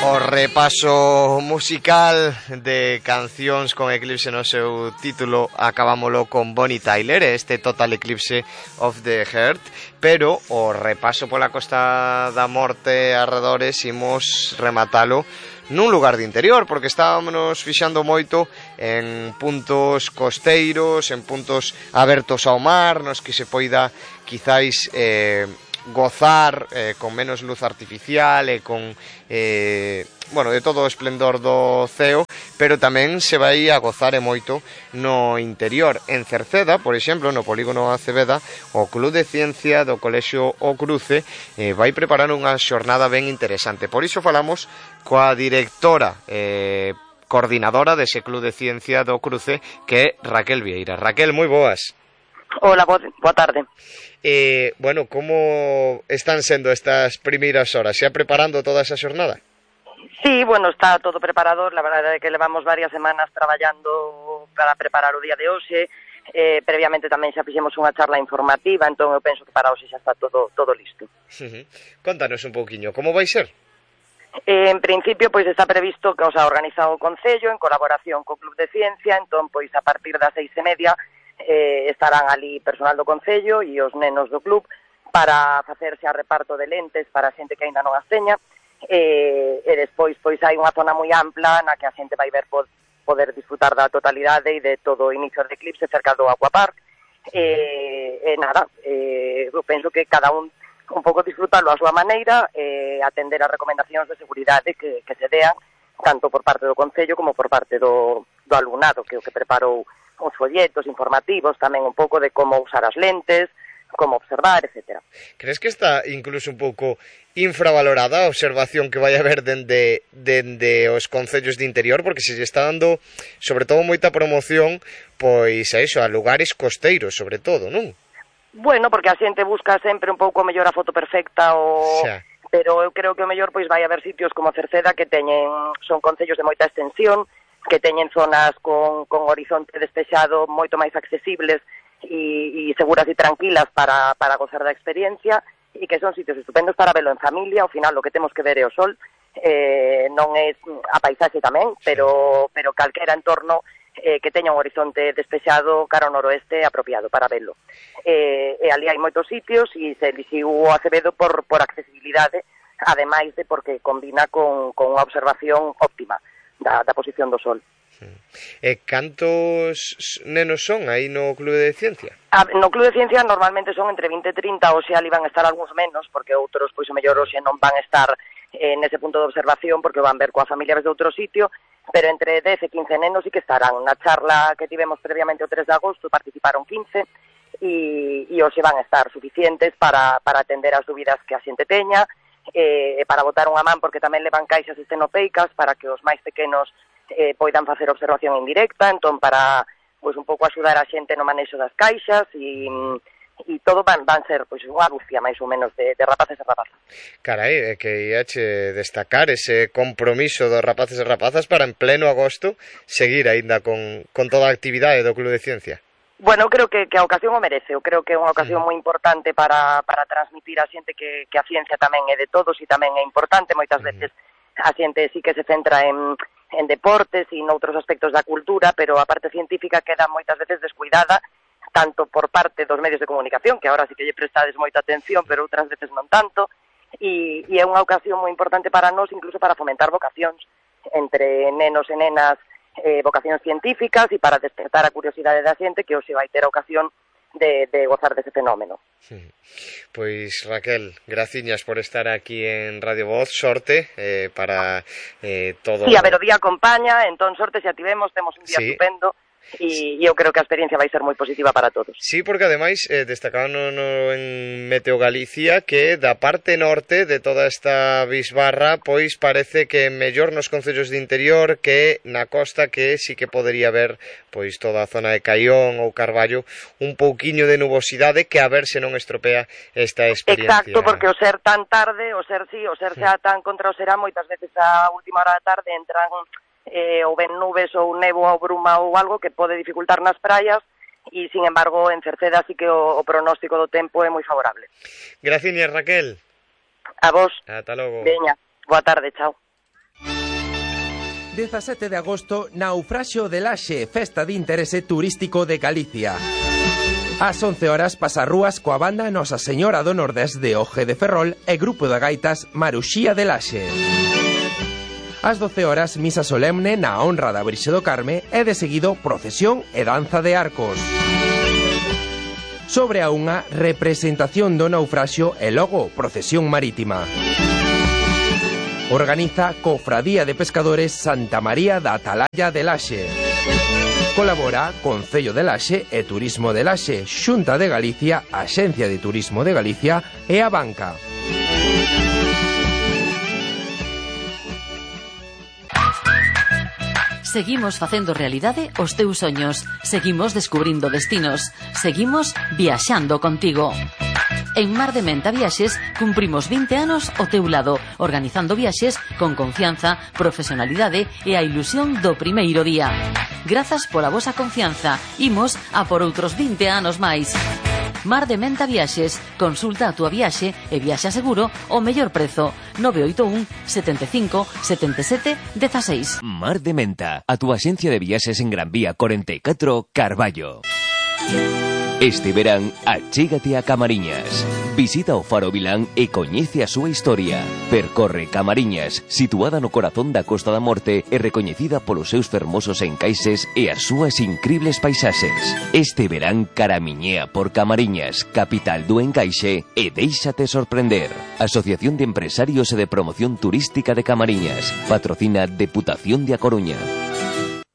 O repaso musical de cancións con Eclipse no seu título acabámolo con Bonnie Tyler, este Total Eclipse of the Heart, pero o repaso pola Costa da Morte arredores imos rematalo nun lugar de interior, porque estábamos fixando moito en puntos costeiros, en puntos abertos ao mar, nos que se poida quizáis gozar con menos luz artificial e con bueno, de todo o esplendor do ceo, pero tamén se vai a gozar e moito no interior. En Cerceda, por exemplo, no polígono Aceveda, o Club de Ciencia do Colexio O Cruce vai preparar unha xornada ben interesante. Por iso falamos coa directora coordinadora dese Club de Ciencia do Cruce, que é Raquel Vieira. Raquel, moi boas. Hola, boa tarde. Bueno, como están sendo estas primeiras horas? Xa preparando toda esa xornada? Sí, bueno, está todo preparado. La verdade é que levamos varias semanas traballando para preparar o día de hoxe. Previamente tamén xa fixemos unha charla informativa, entón eu penso que para hoxe xa está todo listo. Contanos un pouquiño, como vai ser? En principio, pois está previsto que os ha organizado o Concello en colaboración co Club de Ciencia, entón, pois a partir das 6:30 estarán ali personal do Concello e os nenos do club para facerse a reparto de lentes para a xente que aínda non as teña, e despois pois hai unha zona moi ampla na que a xente vai ver poder disfrutar da totalidade e de todo o inicio do eclipse cerca do Aquapark. Nada, eu penso que cada un pouco disfrutalo a súa maneira, atender as recomendacións de seguridade que se dean tanto por parte do Concello como por parte do alumnado, que é o que preparou os folletos informativos, tamén un pouco de como usar as lentes, como observar, etc. Crees que está incluso un pouco infravalorada a observación que vai haber dende os concellos de interior, porque se lle está dando sobre todo moita promoción pois a iso, a lugares costeiros sobre todo, non? Bueno, porque a xente busca sempre un pouco mellor a foto perfecta pero eu creo que o mellor pois vai haber sitios como Cerceda que son concellos de moita extensión, que teñen zonas con horizonte despexado moito máis accesibles e seguras e tranquilas para gozar da experiencia, e que son sitios estupendos para velo en familia. Ao final o que temos que ver é o sol, non é a paisaxe tamén, pero calquera entorno que teña un horizonte despexado cara ao noroeste apropiado para velo. E ali hai moitos sitios e se elixiu o Acevedo por accesibilidade, ademais de porque combina con unha observación óptima da posición do sol. Cantos nenos son aí no Club de Ciencia? No Club de Ciencia normalmente son entre 20 e 30, hoxe ali van a estar algúns menos, porque outros, pois o mellor hoxe non van a estar nese punto de observación, porque van ver coa familia desde outro sitio, pero entre 10 e 15 nenos sí que estarán. Na charla que tivemos previamente o 3 de agosto participaron 15, e hoxe van a estar suficientes para atender as dúbidas que a xente teña, para botar unha man, porque tamén levan caixas estenopeicas para que os máis pequenos poidan facer observación indirecta, entón para pois un pouco axudar a xente no manexo das caixas e todo van ser pois unha dúcia máis ou menos de rapaces e rapazas. Carai, é que iache destacar ese compromiso dos rapaces e rapazas para en pleno agosto seguir aínda con toda a actividade do Club de Ciencia. Bueno, eu creo que a ocasión o merece. Eu creo que é unha ocasión moi importante para transmitir a xente que a ciencia tamén é de todos e tamén é importante. Moitas veces a xente sí que se centra en deportes e noutros aspectos da cultura, pero a parte científica queda moitas veces descuidada, tanto por parte dos medios de comunicación, que agora sí que lle prestades moita atención, pero outras veces non tanto, e é unha ocasión moi importante para nós, incluso para fomentar vocacións entre nenos e nenas, vocacións científicas, e para despertar a curiosidade da xente que hoxe vai ter a ocasión de gozar dese fenómeno. Pois Raquel, graciñas por estar aquí en Radio Voz, sorte para todo. Sí, a ver, o día acompaña, entón sorte se ativemos, temos un día estupendo. E eu creo que a experiencia vai ser moi positiva para todos. Sí, porque ademais destacaban en Meteo Galicia que da parte norte de toda esta bisbarra pois parece que mellor nos concellos de interior que na costa, que sí que podería haber pois toda a zona de Caión ou Carballo un pouquiño de nubosidade, que a ver se non estropea esta experiencia. Exacto, porque o ser tan tarde, o ser xa tan contra o será, moitas veces a última hora da tarde entran ou ven nubes ou nevo ou bruma ou algo que pode dificultar nas praias, e, sin embargo, en Cerceda sí que o pronóstico do tempo é moi favorable. Graciñas, Raquel. A vos. Ata logo. Veña, boa tarde, chao. 17 de agosto, Naufraxio de Laxe, festa de interese turístico de Galicia. Ás 11 horas pasarrúas coa banda Nosa Señora do Nordés de Oje de Ferrol e grupo de gaitas Maruxía de Laxe. Ás 12 horas, misa solemne na honra da Virxe do Carme e de seguido procesión e danza de arcos. Sobre a unha representación do naufraxio e logo procesión marítima. Organiza Cofradía de Pescadores Santa María da Atalaya de Laxe. Colabora Concello de Laxe e Turismo de Laxe, Xunta de Galicia, Axencia de Turismo de Galicia e a Banca. Seguimos facendo realidade os teus soños. Seguimos descubrindo destinos. Seguimos viaxando contigo. En Mar de Menta Viaxes cumprimos 20 anos ao teu lado, organizando viaxes con confianza, profesionalidade e a ilusión do primeiro día. Grazas pola vosa confianza. Imos a por outros 20 anos máis. Mar de Menta Viaxes. Consulta a túa viaxe e viaxa seguro ao mellor prezo. 981 75 77 16. Mar de Menta, a túa axencia de viaxes en Gran Vía 44, Carballo. Este verán, achégate a Camariñas. Visita o Faro Vilán e coñece a súa historia. Percorre Camariñas, situada no corazón da Costa da Morte e recoñecida polos seus fermosos encaixes e as súas incribles paisaxes. Este verán caramiñea por Camariñas, capital do encaixe, e déixate sorprender. Asociación de Empresarios e de Promoción Turística de Camariñas. Patrocina Deputación de A Coruña.